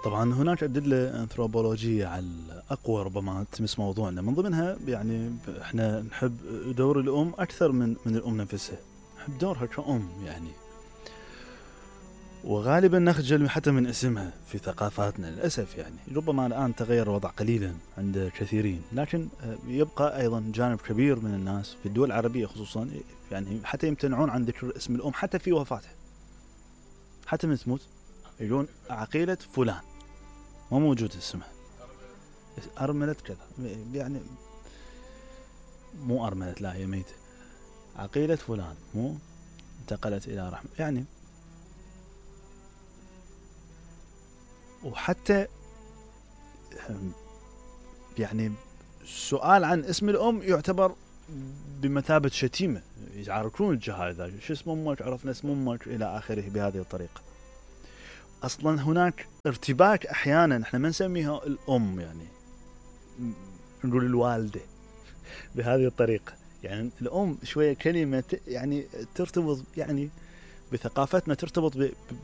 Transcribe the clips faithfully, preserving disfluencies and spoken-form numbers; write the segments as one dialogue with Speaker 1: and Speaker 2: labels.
Speaker 1: طبعا هناك أدلة أنثروبولوجية على أقوى ربما تمس موضوعنا، من ضمنها يعني إحنا نحب دور الأم أكثر من من الأم نفسها، نحب دورها كأم يعني، وغالبا نخجل حتى من اسمها في ثقافاتنا للأسف يعني. ربما الآن تغير الوضع قليلا عند كثيرين، لكن يبقى أيضا جانب كبير من الناس في الدول العربية خصوصا يعني حتى يمتنعون عن ذكر اسم الأم حتى في وفاتها، حتى من تموت يقولون عقيلة فلان، ما موجود اسمها، أرملة كذا يعني، مو أرملة لا هي ميتة، عقيلة فلان مو انتقلت إلى رحمة يعني. وحتى يعني السؤال عن اسم الأم يعتبر بمثابة شتيمة، يعرفون الجهال شو اسم أمك، عرفنا اسم أمك إلى آخره بهذه الطريقة. أصلا هناك ارتباك أحيانا، احنا ما نسميها الأم يعني نقول الوالدة بهذه الطريقة يعني. الأم شوية كلمة يعني ترتبط يعني بثقافتنا، ترتبط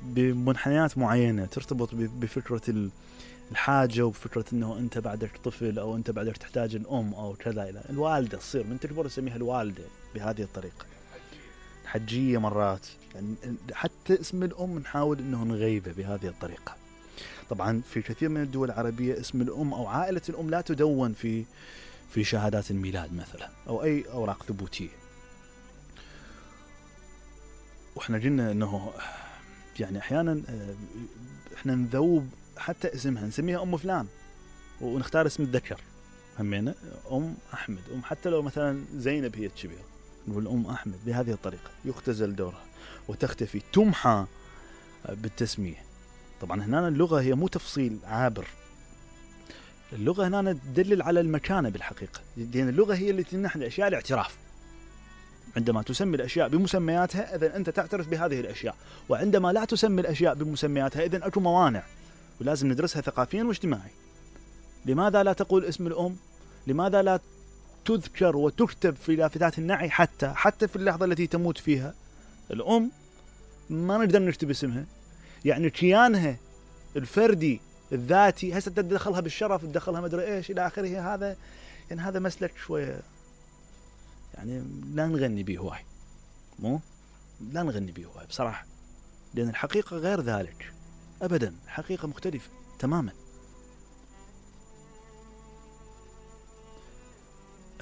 Speaker 1: بمنحنيات معينة، ترتبط بفكرة الحاجة وبفكرة أنه أنت بعدك طفل أو أنت بعدك تحتاج الأم أو كذا. إلى الوالدة تصير من تكبر نسميها الوالدة بهذه الطريقة. الحجية مرات يعني، حتى اسم الأم نحاول أنه نغيبه بهذه الطريقة. طبعا في كثير من الدول العربية اسم الأم أو عائلة الأم لا تدون في في شهادات الميلاد مثلا أو أي أوراق ثبوتية. وإحنا قلنا أنه يعني أحيانا إحنا نذوب حتى اسمها، نسميها أم فلان ونختار اسم الذكر همينة، أم أحمد، أم حتى لو مثلا زينب هي الكبيرة نقول أم أحمد بهذه الطريقة، يختزل دورها وتختفي، تمحى بالتسمية. طبعا هنا اللغة هي مو تفصيل عابر، اللغة هنا تدلل على المكانة بالحقيقة، لأن اللغة هي اللي تمنح الأشياء الاعتراف. عندما تسمي الأشياء بمسمياتها إذن أنت تعترف بهذه الأشياء، وعندما لا تسمي الأشياء بمسمياتها إذن أكو موانع ولازم ندرسها ثقافيا واجتماعي. لماذا لا تقول اسم الأم؟ لماذا لا تذكر وتكتب في لافتات النعي حتى حتى في اللحظة التي تموت فيها الأم؟ ما نقدر نكتب اسمها يعني كيانها الفردي الذاتي، هسه تدخلها بالشرف، تدخلها مدري ايش الى اخره. هذا يعني هذا مسلك شويه يعني لا نغني به هواي، مو لا نغني به هواي بصراحه، لان الحقيقه غير ذلك ابدا، الحقيقه مختلفه تماما.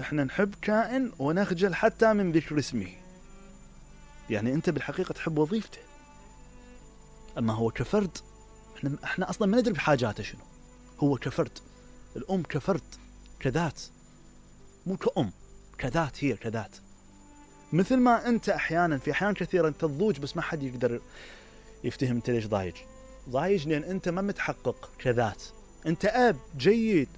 Speaker 1: احنا نحب كائن ونخجل حتى من ذكر اسمه. يعني انت بالحقيقه تحب وظيفته، اما هو كفرد احنا احنا اصلا ما ندري بحاجاته شنو. هو كفرد، الام كفرد كذات، مو كأم، كذات، هي كذات. مثل ما انت احيانا في احيان كثيره انت تضوج بس ما حد يقدر يفتهم انت ليش ضايج. ضايج لان انت ما متحقق كذات. انت اب جيد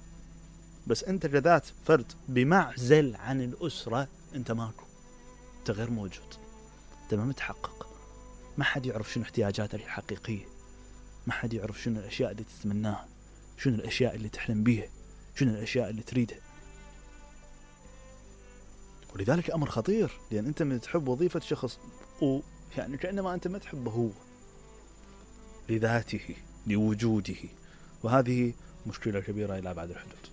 Speaker 1: بس انت كذات، فرد بمعزل عن الاسره، انت ماكو، انت غير موجود، انت ما متحقق. ما حد يعرف شنو احتياجاتك الحقيقيه، ما حد يعرف شنو الاشياء اللي تتمناها، شنو الاشياء اللي تحلم بيها، شنو الاشياء اللي تريدها. ولذلك امر خطير، لان انت من تحب وظيفه شخص ويعني كانما انت ما تحبه هو لذاته لوجوده، وهذه مشكله كبيره الى بعد الحدود.